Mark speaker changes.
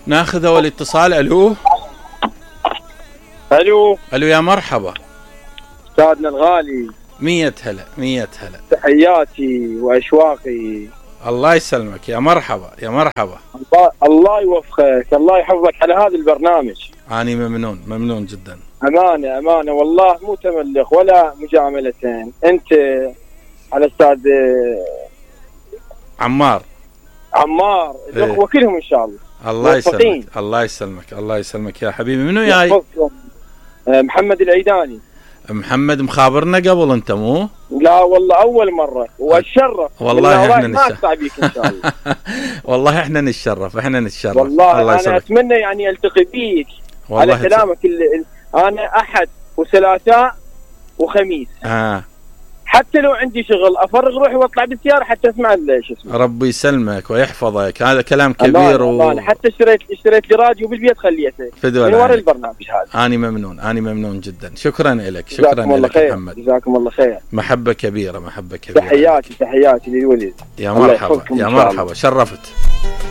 Speaker 1: ناخذ اول اتصال. الو
Speaker 2: الو
Speaker 1: الو يا مرحبا
Speaker 2: استاذنا الغالي.
Speaker 1: 100 هلا 100 هلا.
Speaker 2: تحياتي واشواقي.
Speaker 1: الله يسلمك يا مرحبا يا مرحبا.
Speaker 2: الله يوفقك، الله يحفظك على هذا البرنامج.
Speaker 1: اني ممنون جدا.
Speaker 2: امانه والله مو تملق ولا مجاملتين. انت على استاذ
Speaker 1: عمار
Speaker 2: الاخوه كلهم ان شاء الله.
Speaker 1: الله يسلمك يا حبيبي. منو جاي؟
Speaker 2: محمد العيداني.
Speaker 1: محمد مخابرنا قبل انت مو؟
Speaker 2: لا والله اول مره واتشرف.
Speaker 1: والله احنا
Speaker 2: ما اقطع بيك ان شاء الله.
Speaker 1: والله احنا نتشرف
Speaker 2: والله الله انا اتمنى يعني التقي بيك على كلامك. انا احد وثلاثاء وخميس. حتى لو عندي شغل افرغ روحي واطلع بالسياره حتى اسمع شو اسمه.
Speaker 1: ربي يسلمك ويحفظك. هذا كلام كبير.
Speaker 2: حتى اشتريت لي راديو بالبيت خليته من وراء البرنامج هذا.
Speaker 1: اني ممنون جدا. شكرا لك. شكرا لك محمد.
Speaker 2: جزاكم الله خير.
Speaker 1: محبه كبيره.
Speaker 2: تحياتي للولد.
Speaker 1: يا مرحبا شرفت.